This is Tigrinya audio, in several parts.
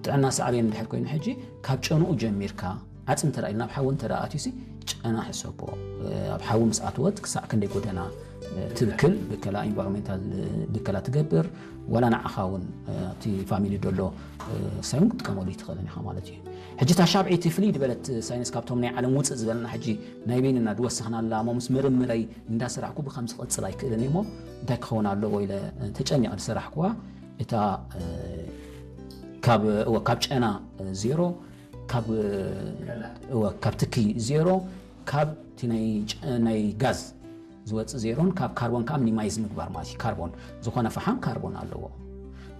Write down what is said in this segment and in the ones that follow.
ጥዕና ሳዕቤን እንድሕር ኮይኑ ሕጂ ካብ ጨንኡ ጀሚርካ ዓፅሚ እንተ ኢልና ኣብ ሓዊ እንተ ኣትዩሲ ጨና ሕሰቦ። ኣብ ሓዊ ምስ ኣትወት ክሳዕ ክንደይ ጎደና ትብክል ብከላ ኢንቫይሮንሜንታል ብከላ ትገብር፣ ዋላ ንዓኻ እውን እቲ ፋሚሊ ደሎ ሳይን ክትጥቀመሉ ይትኽእልን ኢኻ ማለት እዩ። ሕጂ እታ ሻብዒቲ ፍልይ ዝበለት ሳይንስ ካብቶም ናይ ዓለም ውፅእ ዝበለና ሕጂ ናይ በይንና ዝወሰኽናላ እሞ ምስ ምርምረይ እንዳሰራሕኩ ብከምዚ ክቕፅል ኣይክእልን እሞ እንታይ ክኸውን ኣለዎ ኢለ ተጨኒቐ ዝሰራሕኩዋ እታ ካብ ጨና ዜሮ፣ ካብ ትኪ ዜሮ፣ ካብ ናይ ጋዝ ዝወፅእ ዜሮን ካብ ካርቦን ከዓ ሚኒማይዝ ምግባር ማለት እዩ። ካርቦን ዝኾነ ፈሓም ካርቦን ኣለዎ።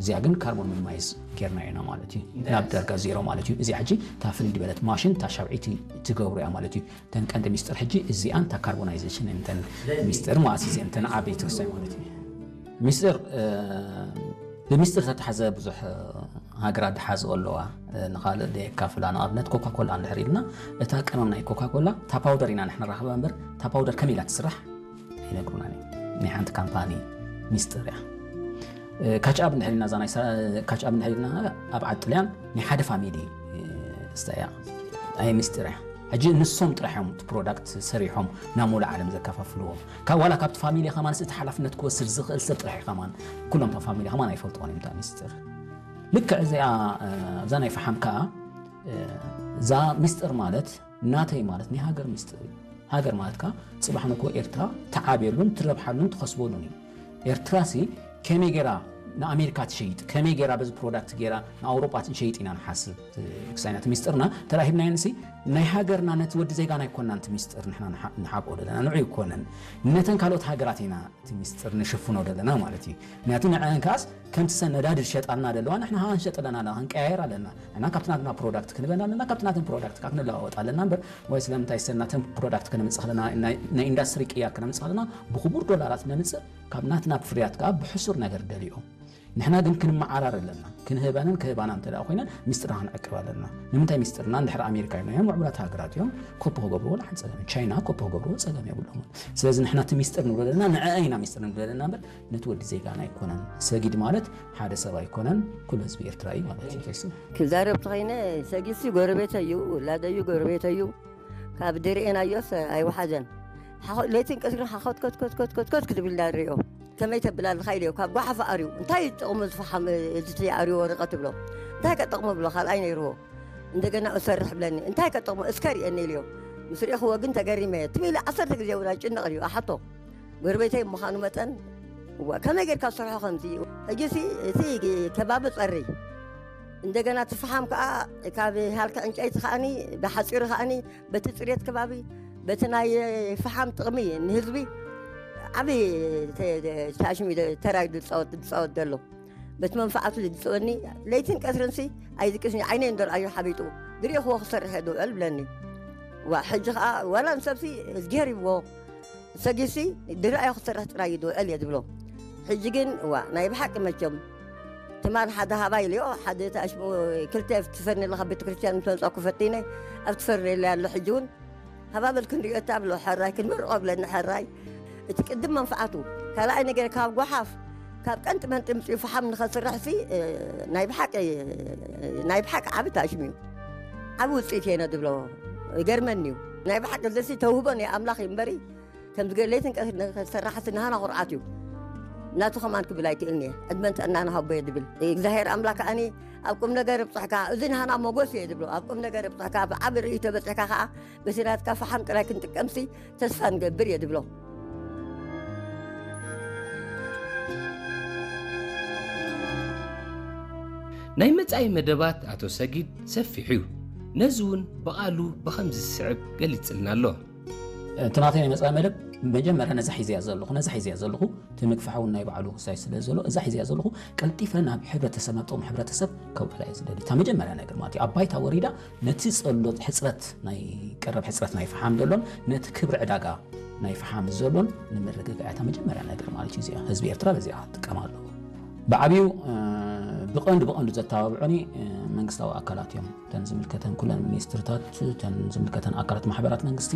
እዚኣ ግን ካርቦን ሚኒማይዝ ጌርና ኢና ማለት እዩ። ናብ ደረጃ ዜሮ ማለት እዩ። እዚኣ ሕጂ እታ ፍልይ ዝበለት ማሽን እታ ሻብዒቲ ትገብሩ እያ ማለት እዩ። እተን ቀንዲ ሚስጥር ሕጂ እዚኣን እታ ካርቦናይዜሽን እተን ሚስጥር ማለት እዚአን እተን ዓበይቲ ወሳኝ ማለት እዩ። ሚስጥር ብሚስጥር ዝተተሓዘ ብዙሕ ሃገራት ዝሓዝኦ ኣለዋ። ንኻልእ ዘየካፍላ ንኣብነት ኮካኮላ እንድሕር ኢልና እታ ቀመም ናይ ኮካኮላ እታ ፓውደር ኢና ንሕና ንራኽባ እምበር እታ ፓውደር ከመይ ኢላ ትስራሕ ኣይነግሩናን እዮም። ናይ ሓንቲ ካምፓኒ ሚስጥር እያ። ካችኣብ እንድሕር ኢልና እዛ ናይ ካችኣብ እንድሕር ኢልና ኣብ ዓዲ ጥልያን ናይ ሓደ ፋሚሊ ስተ እያ። ኣይ ሚስጥር እያ። ሕጂ ንሶም ጥራሕ እዮም እቲ ፕሮዳክት ሰሪሖም ናብ ሙሉእ ዓለም ዘከፋፍልዎ። ካብ ዋላ ካብቲ ፋሚሊ ከማን እቲ ሓላፍነት ክወስድ ዝኽእል ሰብ ጥራሕ እዩ ከማን። ኩሎም እቶም ፋሚሊ ከማን ኣይፈልጥዎን እዮም እታ ሚስጥር። ልክዕ እዚኣ እዛ ናይ ፈሓም ከኣ እዛ ሚስጥር ማለት ናተይ ማለት ናይ ሃገር ሚስጥር እዩ። ሃገር ማለት ከኣ ጽባሕ ንግሆ ኤርትራ ትዓብየሉን ትረብሓሉን ትኸስበሉን እዩ። ኤርትራሲ ከመይ ጌራ ንኣሜሪካ ትሸይጥ፣ ከመይ ጌራ በዚ ፕሮዳክት ጌራ ንኣውሮጳ ትሸይጥ ኢና ንሓስብ። ክሳይና እቲ ሚስጥርና ተላሂብናዮ ንሲ ናይ ሃገርና ነቲ ወዲ ዜጋና ኣይኮንናን እቲ ሚስጥር ንሕና ንሓ- ንሓብኦ ዘለና ንዑ ኣይኮነን ነተን ካልኦት ሃገራት ኢና እቲ ሚስጥር ንሽፍኖ ዘለና ማለት እዩ። ምክንያቱ ንዐን ከኣስ ከምቲ ሰን ነዳዲ ዝሸጣልና ዘለዋ ንሕና ሃ ንሸጥ ኣለና ኣለና ክንቀያየር ኣለና ንሕና ካብቲ ናትና ፕሮዳክት ክንበን ኣለና ካብቲ ናትን ፕሮዳክት ካብ ክንለዋወጥ ኣለና እምበር ወይ ስለምንታይ ሰን ናተን ፕሮዳክት ከነምፅእ ከለና ናይ ኢንዳስትሪ ቅያር ከነምፅእ ከለና ብክቡር ዶላራት ነምፅእ ካብ ናትና ፍርያት ከዓ ብሕሱር ነገር ደልዮም ንሕና ግን ክንመዓራር ኣለና ክንህበንን ክህባና እንተ ኮይነን ሚስጥርና ክንዕቅብ ኣለና ንምንታይ ሚስጥርና እንድሕር ኣሜሪካ ኢልናዮም ምዕቡላት ሃገራት እዮም ኮፒ ክገብርዎ ወላ ሓንቲ ጸገም ቻይና ኮፒ ክገብርዎ ጸገም የብሎምን ስለዚ ንሕና እቲ ሚስጥር ንብሎ ዘለና ንዐአ ኢና ሚስጥር ንብሎ ዘለና እምበር ነቲ ወዲ ዜጋና ኣይኮነን ሰጊድ ማለት ሓደ ሰብ ኣይኮነን ኩሉ ህዝቢ ኤርትራ እዩ ማለት እዩ ተይሱ ክዛረብ ተኸይነ ሰጊድሲ ጎረቤተ እዩ ውላደ እዩ ጎረቤተ እዩ ካብ ድርኤናዮስ ኣይወሓዘን ለይትን ቀትርን ሓኸትከትከትከትከት ክትብል ዳርዮ ከመይ ተብል ኣለኻ ኢልዮ ካብ ጓሓፍ ኣርዩ እንታይ ጥቕሙ ዝፈሓም እቲ ኣርዩ ወረቐት ብሎ እንታይ ከጥቕሙ ብሎ ካልኣይ ነይርዎ እንደገና እሰርሕ ብለኒ እንታይ ከጥቕሙ እስከ ርኤኒ ኢልዮ ምስ ርኤኽዎ ግን ተገሪመ ትም ኢለ ዓሰርተ ግዜ እውን ኣይጭነቕ እዩ ኣሓቶ ጎረቤተይ ምዃኑ መጠን እዋ ከመይ ጌርካ ዝሰርሖ ከምዚ እዩ ሕጂሲ እቲ ከባቢ ጸሪ እንደገና እቲ ፈሓም ከዓ ካብ ሃልኪ ዕንጨይቲ ከዓኒ ብሓፂሩ ከዓኒ በቲ ፅሬት ከባቢ በቲ ናይ ፈሓም ጥቕሚ ንህዝቢ ዓብዪ ተሽሚ ተራይ ዝፃወት ዘሎ በቲ መንፈዓቱ ዝፅወኒ ለይትን ቀትርንሲ ኣይዝቅስኒ ዓይነይ እንደርኣዩ ሓቢጡ ዝሪእኽዎ ክሰርሕ እየ ዝውዕል ብለኒ ዋ ሕጂ ከዓ ዋላ ንሰብሲ እዝግሄር ይብዎ ሰጊሲ ድርኣዮ ክሰርሕ ጥራይ እዩ ዝውዕል እየ ዝብሎ ሕጂ ግን ዋ ናይ ብሓቂ መቸም ትማል ሓደ ሃባ ኢልዮ ሓደ ተኣሽሙ ክልተ ትፈርኒ ኣለካ ቤተክርስትያን ምስ መፃኩ ፈቲነ ኣብ ትፈርኒ ኢለ ኣሎ ሕጂ እውን ሃባበል ክንሪኦ እታ ብሎ ሕራይ ክንምርቆ ብለኒ ሕራይ እቲ ቅድም መንፍዓቱ ካልኣይ ነገር ካብ ጓሓፍ ካብ ቀንጢ መንጢ ምፅኡ ፈሓም ንኸስርሕ ሲ ናይ ብሓቂ ናይ ብሓቂ ዓቢ ታሽሙ እዩ ዓቢ ውፅኢት የነ ዝብሎ ይገርመኒ እዩ ናይ ብሓቂ ዘሲ ተውህቦ ናይ ኣምላኽ እዩ እምበሪ ከምዚ ለይትን ቀትሪ ንኸሰርሓሲ ንሃና ኩርዓት እዩ ናቱ ከማን ክብል ኣይክእልን እየ ዕድመን ጥዕና ንሃቦ እየ ዝብል እግዚኣብሔር ኣምላክ ከኣኒ ኣብ ቁም ነገር ብፅሕካ እዚ ንሃና ሞጎስ እየ ዝብሎ ኣብ ቁም ነገር ብፅሕካ ብዓቢ ርእይቶ በፅሕካ ከዓ በቲ ናትካ ፈሓም ጥራይ ክንጥቀምሲ ተስፋ ንገብር እየ ዝብሎ ናይ መጻኢ መደባት ኣቶ ሰጊድ ሰፊሕ እዩ። ነዚ እውን ብቓሉ ብኸምዚ ዝስዕብ ገሊጽልና ኣሎ። እቲ ናተይ ናይ መጻኢ መደብ መጀመርያ ነዛ ሒዘያ ዘለኹ ነዛ ሒዘያ ዘለኹ እቲ ምግፋሕ እውን ናይ ባዕሉ ክሳይ ስለ ዘሎ እዛ ሒዘያ ዘለኹ ቀልጢፈ ናብ ሕብረተሰብ ናብ ጥቕሚ ሕብረተሰብ ከውዕላ እየ ዝደሊ እታ መጀመርያ ነገር ማለት እዩ ኣብ ባይታ ወሪዳ ነቲ ጸሎት ሕጽረት ናይ ቀረብ ሕጽረት ናይ ፈሓም ዘሎን ነቲ ክብሪ ዕዳጋ ናይ ፈሓም ዘሎን ንምርግጋዕ እታ መጀመርያ ነገር ማለት እዩ እዚኣ ህዝቢ ኤርትራ በዚኣ ክጥቀም ኣለዎ ብዓብዩ ብቐንዱ ብቐንዱ ዘተባብዑኒ መንግስታዊ ኣካላት እዮም እተን ዝምልከተን ኩለን ሚኒስትርታት እተን ዝምልከተን ኣካላት ማሕበራት መንግስቲ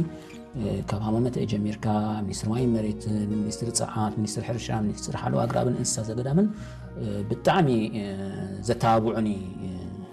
ካብ ሃማመተ ጀሚርካ ሚኒስትር ማይ መሬትን ሚኒስትር ፀዓት ሚኒስትር ሕርሻ ሚኒስትር ሓለዋ ኣግራብን እንስሳ ዘገዳምን ብጣዕሚ ዘተባብዑኒ